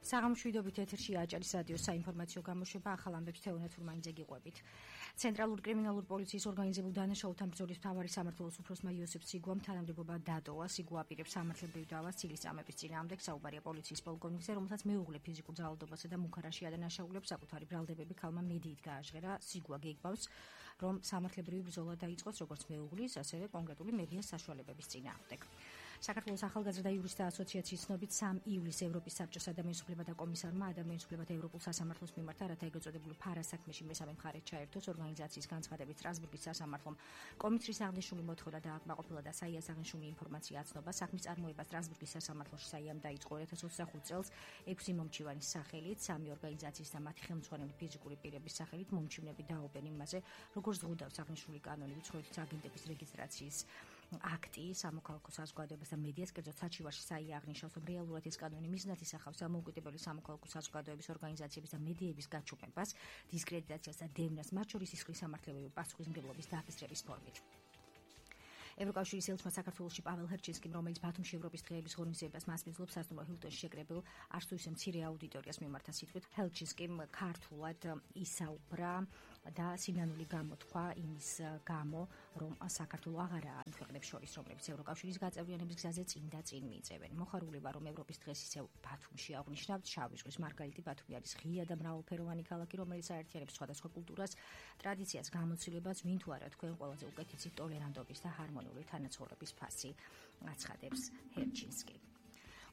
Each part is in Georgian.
საღამოშვიდობით ეთერში აჭარის რადიოს საინფორმაციო გამოშვება ახალ ამბებს თეონა თურმანიძე გიყვებით. ცენტრალური კრიმინალური პოლიციის ორგანიზებულ დანაშაულთან ბრძოლის მთავარი სამმართველოს უფროსმა იოსებ სიგუამ თანამდებობა დატოვა. სიგუ აპირებს სამართლებრივ დავას ცილისწამების წინააღმდეგ. საუბარია პოლიციის პოლკოვნიკზე, რომელსაც მეუღლე ფიზიკურ ძალადობასა და მუქარაში ადანაშაულებს. საკუთარი ბრალდებები ქალმა მედიით გააჟღერა. სიგუა გეუბნავს, რომ სამართლებრივი ბრძოლა დაიწყოს როგორც მეუღლის, ასევე კონკრეტული მედიას საშუალებების წინააღმდეგ. საქართველოს ახალგაზრდა იურისტთა ასოციაციის ცნობით 3 ივლისს ევროპის საბჭოს ადამიანის უფლებათა კომისარმა ადამიანის უფლებათა ევროპულ სასამართლოს მიმართა, რათა ეგრეთ წოდებული ფარას საქმეში მესამე მხარეს ჩაერთოს ორგანიზაციის განცხადებით სტრასბურგის სასამართლომ კომისრის აღნიშნული მოთხოვნა დააკმაყოფილა და საიას აღნიშნული ინფორმაცია აცნობა. საქმის წარმოება სტრასბურგის სასამართლოში საიამ დაიწყო 2025 წელს 6 მომჩივანის სახელით, 3 ორგანიზაციის და მათი ხელმძღვანელი ფიზიკური პირების სახელით მომჩივნები დაობენ იმაზე, როგორც ზღუდავს აღნიშნული კანონი უცხოეთის აგენტების რეგისტრაციის აქტი, სამოქალაქო საზოგადოებას და მედიას, კერძოდ საჩივარში საია აღნიშნავს, რომ რეალურად ეს კანონი მიზნად ისახავს დამოუკიდებელი სამოქალაქო საზოგადოების ორგანიზაციების და მედიების გაჩუქებას, დისკრედიტაციას და დევნას, მათ შორის სისხლის სამართლებრივი პასუხისმგებლობის დაკისრების ფორმით. ევროკავშირის ელჩმა საქართველოში პაվել ჰერჩინსკიმ, რომელიც ბათუმში ევროპის დღეების ღონისძიებას მასპინძლობს, სასტუმრო ჰილტონში შეკრებილ არც თუ ისე მცირე აუდიტორიას მიმართა სიტყვით, ჰერჩინსკიმ ქართულად ისაუბრა და სინანული გამოთქვა იმის გამო, რომ საქართველო აღარაა იმ ქვეყნებს შორის, რომლებიც ევროკავშირის გაწევრიანების გზაზე წინ და წინ მიიწევენ. მოხარული ვარ, რომ ევროპის დღეს ისევ ბათუმში აღნიშნავთ. შავი ზღვის მარგალიტი ბათუმი არის ღია და მრავალფეროვანი ქალაქი, რომელიც აერთიანებს სხვადასხვა კულტურას, ტრადიციას, გამოცდილებას, ვინ თუ არა თქვენ ყველაზე უკეთესი ტოლერანტობის და ჰარმონიის თანაცხოვრების ფასი აცხადებს ჰერჩინსკი.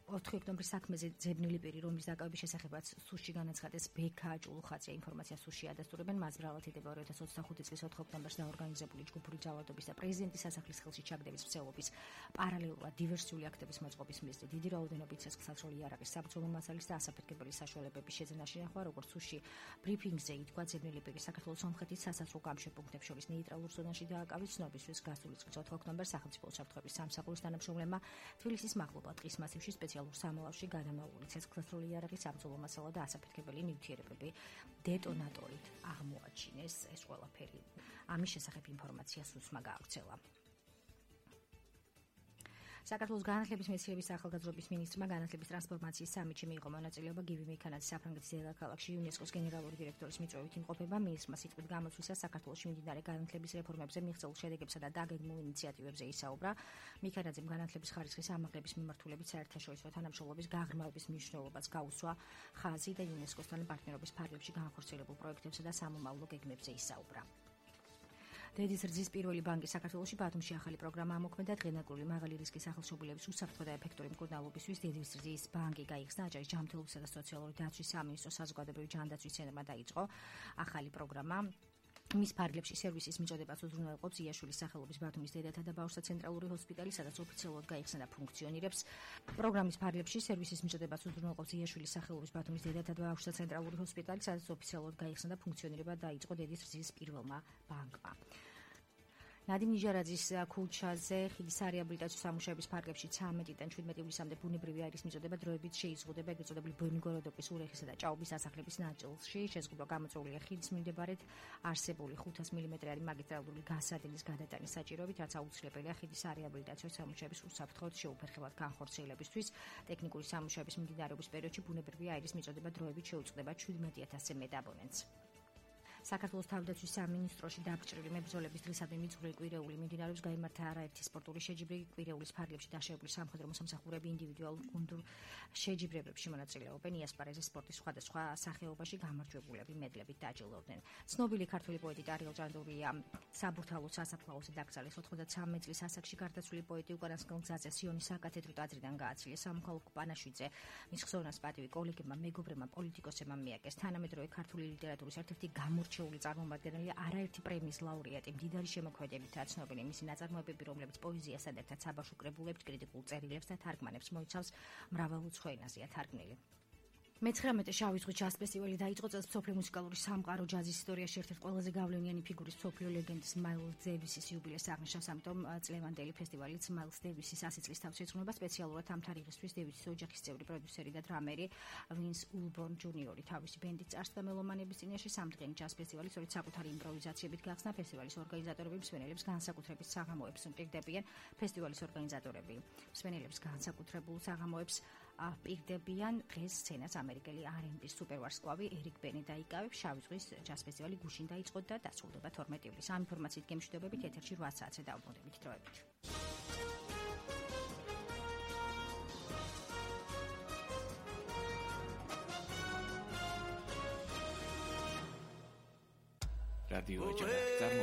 4 ოქტომბრის საქმეზე ძებნილი პირი, რომლის დაკავების შესახებაც სუსში განაცხადეს ბექა ჭულუხაცია ინფორმაცია სუსში ადასტურებენ. მას ბრალად ეთება 2025 წლის 4 ოქტომბერს დაორგანიზებული ჯგუფური ძალადობის და პრეზიდენტის სასახლის ხელში ჩაგდების მცდელობის პარალელურად დივერსიული აქტების მოწყობის მიზნით დიდი რაოდენობით ცეცხლსასროლი იარაღის საბრძოლო მასალის და ასაფეთქებელი საშუალებების შეძენაში ნახვა, როგორც სუსში ბრიფინგზე ითქვა, ძებნილი პირი საქართველოს სომხეთის სასაზღვრო გამშვებუნებებს შორის ნეიტრალურ ზონაში დააკავეს. ცნობისთვის გასული წლის 4 ოქტომბერს სახელმწიფო უსაფრთხოების სამსახურის თანამშრომლებმა თბილისის მაღლობა ტყის მასივში სპეციალურ სამალავში გადამაული ცეცხლსასროლი იარაღის საბრძოლო მასალა და ასაფეთქებელი ნივთიერებები დეტონატორით აღმოაჩინეს. ეს ყველაფერი ამის შესახებ ინფორმაცია სუსმა გაავრცელა. საქართველოს განათლების მეცნიერების ახალგაზრდობის მინისტრმა განათლების ტრანსფორმაციის სამიტში მიიღო მონაწილეობა. გივი მეიქანაძის საფრანგეთის დედაქალაქში იუნესკოს გენერალური დირექტორის მიწვევით იმყოფება. მინისტრმა სიტყვით გამოსვლისას საქართველოში მიმდინარე განათლების რეფორმებზე მიღწეულ შედეგებსა და დაგეგმულ ინიციატივებზე ისაუბრა. მეიქანაძემ განათლების ხარისხის ამაღლების მიმართულებით საერთაშორისო თანამშრომლობის გაღრმავების მნიშვნელობას გაუსვა. ხაზი და იუნესკოსთან პარტნიორობის ფარგლებში განხორციელებულ პროექტებსა და სამომავლო გეგმებზე ისაუბრა. დედის რძის პირველი ბანკი საქართველოში ბათუმში ახალი პროგრამა ამოქმედა. დღენაკრული მაღალი რისკის სახელმწიფოების უსაფრთხო და ეფექტური მკურნალობისთვის დედის რძის ბანკი გაიხსნა. აჭარის ჯანმრთელობისა და სოციალური დაცვის სამინისტროს საზოგადოებრივი ჯანდაცვის ცენტრმა დაიწყო ახალი პროგრამა. მის ფარგლებში სერვისის მიწოდებას უზრუნველყოფს იაშვილის სახელობის ბათუმის დედათა და ბავშვთა ცენტრალური ჰოსპიტალი, სადაც ოფიციალურად გაიხსნა და ფუნქციონირებს. პროგრამის ფარგლებში სერვისის მიწოდებას უზრუნველყოფს იაშვილის სახელობის ბათუმის დედათა და ბავშვთა ცენტრალური ჰოსპიტალი, სადაც ოფიციალურად გაიხსნა და ფუნქციონირება დაიწყო დედის რძის პირველმა ბანკმა. ნადიმ ნიჟარაძის ქუჩაზე ხიდის რეაბილიტაციის სამუშაოების ფარგლებში 13-დან 17 ივლისამდე ბუნებრივი აირის მიწოდება დროებით შეიზღუდება ეგრეთ წოდებული ბენგოროდოკის, ურეხისა და ჭაობის სასახლების ნაწილში. შეზღუდვა გამოწვეულია ხიდის მიმდებარედ არსებული 500 მმ-იანი მაგისტრალური გასადენის გადატანის საჭიროებით, რაც აუცილებელია ხიდის რეაბილიტაციის სამუშაოების უსაფრთხო შეუფერხებლად განხორციელებისთვის. ტექნიკური სამუშაოების მიმდინარეობის პერიოდში ბუნებრივი აირის მიწოდება დროებით შეუწყდება 17,000-ზე მეტ აბონენტს. საქართველოს თავდაცვის სამინისტროში დაგჭრილი მებრძოლების დღისადმი მიძღვრილი კვირეული მიმდინარეობს. გაიმართა არაერთი სპორტული შეჯიბრი. კვირეულის ფარგლებში დაშავებული სამხედრო მოსამსახურეები ინდივიდუალურ გუნდურ შეჯიბრებებში მონაწილეობენ. იასპარეზის სპორტის სხვადასხვა სახეობაში გამარჯვებულები მედლებით დაჯილდოვდნენ. ცნობილი ქართველი პოეტი ტარიელ ჭანდურია საბურთალოს სასაფლაოზე დაკრძალეს. 93 წლის ასაკში გარდაცვლილი პოეტი უკანასკნელ გზაზე სიონის საკათედრო ტაძრიდან გააცილეს. სამოქალაქო პანაშვიდზე მის ხსოვნას პატივი კოლეგებმა, მეგობრებმა, პოლიტიკოსებმა მიაკეს. თანამედროვე ქართული ლიტერატურის ერთ-ერთი გამორჩეული წარმომადგენელი, არაერთი პრემიის ლაურეატი, მდიდარი შემოქმედებითაა ცნობილი მისი ნაწარმოებები, რომლებიც პოეზიასთან ერთად საბავშვო კრებულებს, კრიტიკულ წერილებს და თარგმანებს მოიცავს, მრავალუცხო ენაზეა თარგმნილი. მე-19 შავი ზღვის ჯაზ ფესტივალი დაიწყო წელს მსოფლიო მუსიკალური სამყარო ჯაზის ისტორიაში ერთ-ერთი ყველაზე გავლენიანი ფიგურის მსოფლიო ლეგენდის მაილს დევისის იუბილეს აღნიშნავს, ამიტომ წლევანდელი ფესტივალიც მაილს დევისის 100 წლის თავს ეძღვნება. სპეციალურად ამ თარიღისთვის დევისის ოჯახის წევრი, პროდიუსერი და დრამერი ვინს ულბორნ ჯუნიორი თავისი ბენდის წარსდა მელომანების წინაშე სამდღიანი ჯაზ ფესტივალი სწორედ საკუთარი იმპროვიზაციებით გახსნა. ფესტივალის ორგანიზატორები მსმენელებს განსაკუთრებით საღამოებს უპირდებიან. ფესტივალის ორგანიზატორები მსმენელებს განსაკუთრებულ საღამოებს პირდებიან დღეს სცენას ამერიკელი R&B სუპერვარსკვლავი ერიკ ბენი დაიკავებს. შავი ზღვის ჯაზ ფესტივალი გუშინ დაიწყო და დასრულდება 12 ივლისს. ამ ინფორმაციით გემშვიდობებით ეთერში 8 საათზე დაუბრუნდებით დროებით. რადიო ეჯახა